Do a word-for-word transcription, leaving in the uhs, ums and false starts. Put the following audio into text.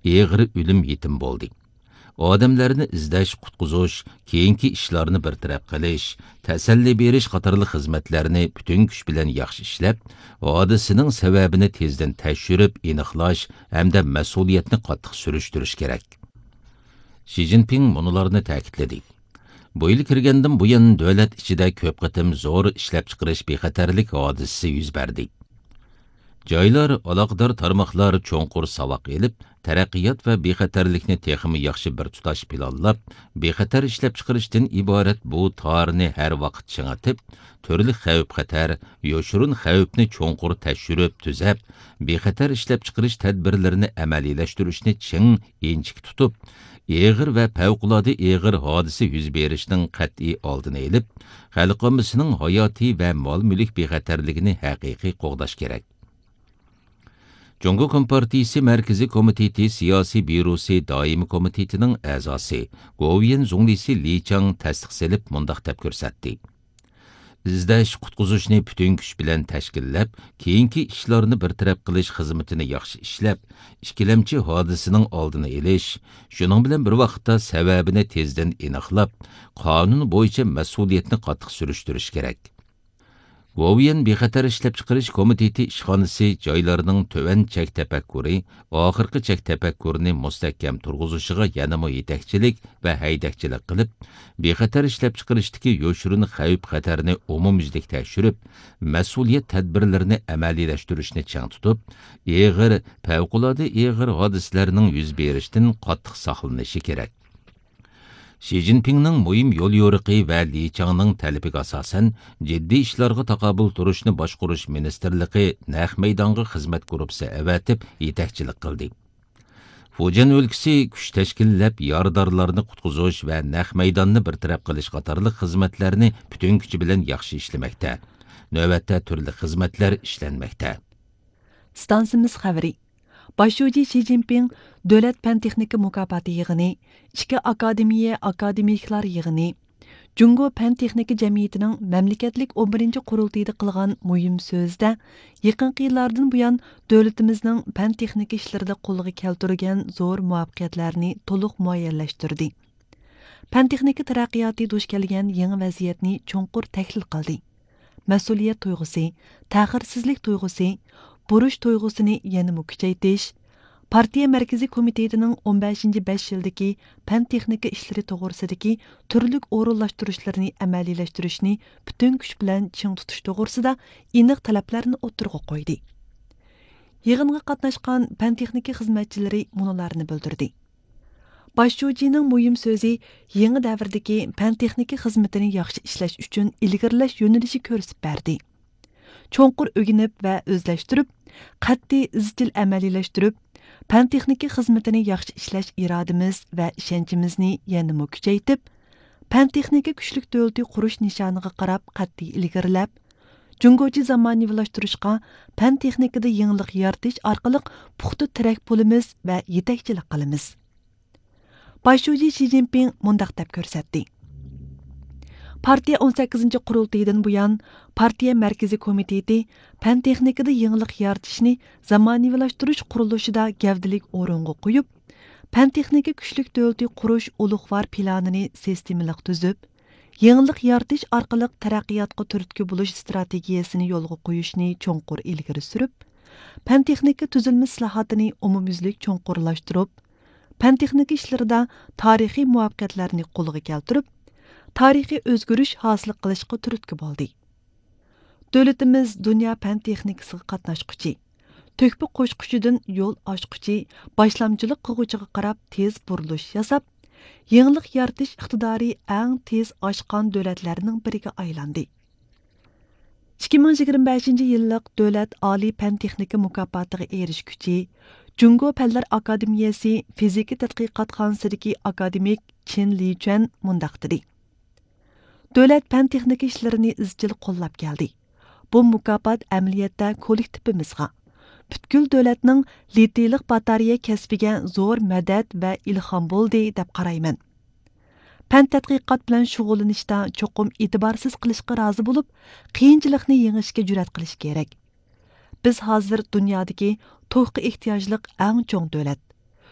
ئېغىر ئۆلۈم يېتىم بولدى. ئادەملەرنى ئىزدەش، قۇتقۇزۇش، كېيىنكى ئىشلارنى بىر تەرەپ قىلىش، تەسەللى بېرىش قاتارلىق خىزمەتلەرنى پۈتۈن كۈچ بىلەن ياخشى ئىشلەپ، ھادىسىنىڭ سەۋەبىنى تېزدىن تەكشۈرۈپ ئېنىقلاش ھەمدە مەسئۇلىيەتنى قاتتىق سۈرۈشتۈرۈش كېرەك. شى جىنپىڭ مۇنۇلارنى تەكىتلىدى. بۇ يىل كىرگەندىن بۇيان، دۆلەت ئىچىدە كۆپ قېتىم زور ئىشلەپچىقىرىش بىخەتەرلىك ھادىسىسى يۈز بەردى. جايلار، ئالاقىدار تارماقلار چوڭقۇر ساۋاق ئېلىپ، تەرەققىيات ۋە بىخەتەرلىكنى تېخىمۇ ياخشى بىر تۇتاش پىلانلاپ، بىخەتەر ئىشلەپچىقىرىشتىن ئىبارەت بۇ تارنى ھەر ۋاقىت چىڭىتىپ، تۈرلۈك خەۋپ-خەتەر، يوشۇرۇن خەۋپنى چوڭقۇر تەكشۈرۈپ تۈزەپ، بىخەتەر ئىشلەپچىقىرىش تەدبىرلىرىنى ئەمەلىيلەشتۈرۈشنى چىڭ ئىنچىكە تۇتۇپ، ئېغىر ۋە پەۋقۇلئاددە ئېغىر ھادىسە يۈز بېرىشنىڭ قەتئىي ئالدىنى ئېلىپ، خەلق ئاممىسىنىڭ ھاياتىي ۋە مال-مۈلۈك بىخەتەرلىكىنى ھەقىقىي قوغداش كېرەك. جۇڭگو كومپارتىيىسى مەركىزىي كومىتېتى سىياسىي بيۇروسى دائىمىي كومىتېتىنىڭ ئەزاسى، گوۋۇيۈەن زۇڭلىسى لى چاڭ تەستىق سېلىپ، مۇنداق دەپ كۆرسەتتى. ئىزدەش، قۇتقۇزۇشنى پۈتۈن كۈچ بىلەن تەشكىللەپ، كېيىنكى ئىشلارنى بىر تەرەپ قىلىش خىزمىتىنى ياخشى ئىشلەپ، ئىككىلەمچى ھادىسىنىڭ ئالدىنى ئېلىش، شۇنىڭ بىلەن بىر ۋاقىتتا سەۋەبىنى تېزدىن ئېنىقلاپ، قانۇن بويىچە مەسئۇلىيەتنى قاتتىق سۈرۈشتۈرۈش كېرەك. گوۋۇيۈەن بىخەتەر ئىشلەپچىقىرىش كومىتېتى ئىشخانىسى جايلارنىڭ تۆۋەن چەك تەپەككۇرى، ئاخىرقى چەك تەپەككۇرىنى مۇستەھكەم تۇرغۇزۇشىغا يەنىمۇ يېتەكچىلىك ۋە ھەيدەكچىلىك قىلىپ، بىخەتەر ئىشلەپچىقىرىشتىكى يوشۇرۇن خەۋپ-خەتەرنى ئومۇميۈزلۈك تەكشۈرۈپ، مەسئۇلىيەت تەدبىرلىرىنى ئەمەلىيلەشتۈرۈشنى چىڭ تۇتۇپ، ئېغىر، پەۋقۇلئاددە ئېغىر ھادىسىلەرنىڭ يۈز بېرىشىدىن قاتتىق ساقلىنىشى كېرەك. شى جىنپىڭنىڭ مۇھىم يوليورۇقى ۋە لى چاڭنىڭ تەلىپىگە ئاساسەن، جىددىي ئىشلارغا تاقابىل تۇرۇشنى باشقۇرۇش مىنىستىرلىقى نەق مەيدانغا خىزمەت گۇرۇپپىسى ئەۋەتىپ يېتەكچىلىك قىلدى. فۇجيەن ئۆلكىسى كۈچ تەشكىللەپ، يارىدارلارنى قۇتقۇزۇش ۋە نەق مەيداننى بىر تەرەپ قىلىش قاتارلىق خىزمەتلەرنى پۈتۈن كۈچى بىلەن ياخشى ئىشلىمەكتە. نۆۋەتتە تۈرلۈك خىزمەتلەر ئىشلەنمەكتە. ئىستانسىمىز خەۋىرى. باش شۇجى شى جىنپىڭ دۆلەت پەن-تېخنىكا مۇكاپاتى يىغىنى، ئىككى ئاكادېمىيە ئاكادېمىكلار يىغىنى، جۇڭگو پەن-تېخنىكا جەمئىيىتىنىڭ مەملىكەتلىك ئون بىرىنچى قۇرۇلتىيىدا قىلغان مۇھىم سۆزىدە، يېقىنقى يىللاردىن بۇيان دۆلىتىمىزنىڭ پەن-تېخنىكا ئىشلىرىدا قولغا كەلتۈرگەن زور مۇۋەپپەقىيەتلەرنى تولۇق مۇئەييەنلەشتۈردى. پەن-تېخنىكا تەرەققىياتى دۇچ كەلگەن يېڭى ۋەزىيەتنى چوڭقۇر تەھلىل قىلدى. مەسئۇلىيەت تۇيغۇسى، تەخىرسىزلىك تۇيغۇسى، بۇرچ تۇيغۇسىنى يەنىمۇ كۈچەيتىش، پارتىيە مەركىزىي كومىتېتىنىڭ ئون بەشىنچى بەش يىلدىكى پەن-تېخنىكا ئىشلىرى توغرىسىدىكى تۈرلۈك ئورۇنلاشتۇرۇشلىرىنى ئەمەلىيلەشتۈرۈشنى پۈتۈن كۈچ بىلەن چىڭ تۇتۇش توغرىسىدا ئېنىق تەلەپلەرنى ئوتتۇرىغا قويدى. يىغىنغا قاتناشقان پەن-تېخنىكا خىزمەتچىلىرى مۇنۇلارنى بىلدۈردى. باش شۇجىنىڭ مۇھىم سۆزى يېڭى دەۋردىكى پەن-تېخنىكا خىزمىتىنى ياخشى ئىشلەش ئۈچۈن ئىلگىرىلەش يۆنىلىشى كۆرسىتىپ بەردى. چوڭقۇر ئۆگىنىپ ۋە ئۆزلەشتۈرۈپ، قەتئىي ئىزچىل ئەمەلىيلەشتۈرۈپ، پەن-تېخنىكا خىزمىتىنى ياخشى ئىشلەش ئىرادىمىز ۋە ئىشەنچىمىزنى يەنىمۇ كۈچەيتىپ، پەن-تېخنىكا كۈچلۈك دۆلىتى قۇرۇش نىشانىغا قاراپ قەتئىي ئىلگىرىلەپ، جۇڭگوچە زامانىۋىلاشتۇرۇشقا پەن-تېخنىكىدا يېڭىلىق يارىتىش ئارقىلىق پۇختا تىرەك پۇلىمىز ۋە يېتەكچىلىك قىلىمىز. باش شۇجى شى جىنپىڭ مۇنداق دەپ كۆرسەتتى. پارتىيە ئون سەككىزىنچى قۇرۇلتىيىدىن بۇيان، پارتىيە مەركىزىي كومىتېتى پەن-تېخنىكىدا يېڭىلىق يارىتىشنى زامانىۋىلاشتۇرۇش قۇرۇلۇشىدا گەۋدىلىك ئورۇنغا قويۇپ، پەن-تېخنىكا كۈچلۈك دۆلىتى قۇرۇش ئۇلۇغۋار پىلانىنى سىستېمىلىق تۈزۈپ، يېڭىلىق يارىتىش ئارقىلىق تەرەققىياتقا تۈرتكە بولۇش ئىستراتېگىيەسىنى يولغا قويۇشنى چوڭقۇر ئىلگىرى سۈرۈپ، پەن-تېخنىكا تۈزۈلمە ئىسلاھاتىنى ئومۇميۈزلۈك چوڭقۇرلاشتۇرۇپ، پەن-تېخنىكا ئىشلىرىدا تارىخىي مۇۋەپپەقىيەتلەرنى قولغا كەلتۈرۈپ، تارىخىي ئۆزگىرىش ھاسىل قىلىشقا تۈرتكە بولدى. دۆلىتىمىز دۇنيا پەن-تېخنىكىسىغا قاتناشقۇچى، تۆھپە قوشقۇچىدىن يول ئاچقۇچى، باشلامچىلىق قىلغۇچىغا قاراپ تېز بۇرۇلۇش ياساپ، يېڭىلىق يارىتىش ئىقتىدارى ئەڭ تېز ئاشقان دۆلەتلەرنىڭ بىرىگە ئايلاندى. ئىككى مىڭ يىگىرمە بەشىنچى يىللىق دۆلەت ئالىي پەن-تېخنىكا مۇكاپاتىغا ئېرىشكۈچى، جۇڭگو پەنلەر ئاكادېمىيەسى فىزىكا تەتقىقاتخانىسىدىكى ئاكادېمىك چېن لىچۈەن مۇنداق دېدى: دۆلەت پەن-تېخنىكا ئىشلىرىنى ئىزچىل قوللاپ كەلدى. بۇ مۇكاپات ئەمەلىيەتتە كوللېكتىپىمىزغا، پۈتكۈل دۆلەتنىڭ لىتىيلىق باتارېيە كەسپىگە زور مەدەت ۋە ئىلھام بولدى، دەپ قارايمەن. پەن تەتقىقات بىلەن شۇغۇللىنىشتا چوقۇم ئېتىبارسىز قىلىشقا رازى بولۇپ، قىيىنچىلىقنى يېڭىشكە جۈرئەت قىلىش كېرەك. بىز ھازىر دۇنيادىكى توكقا ئېھتىياجلىق ئەڭ چوڭ دۆلەت.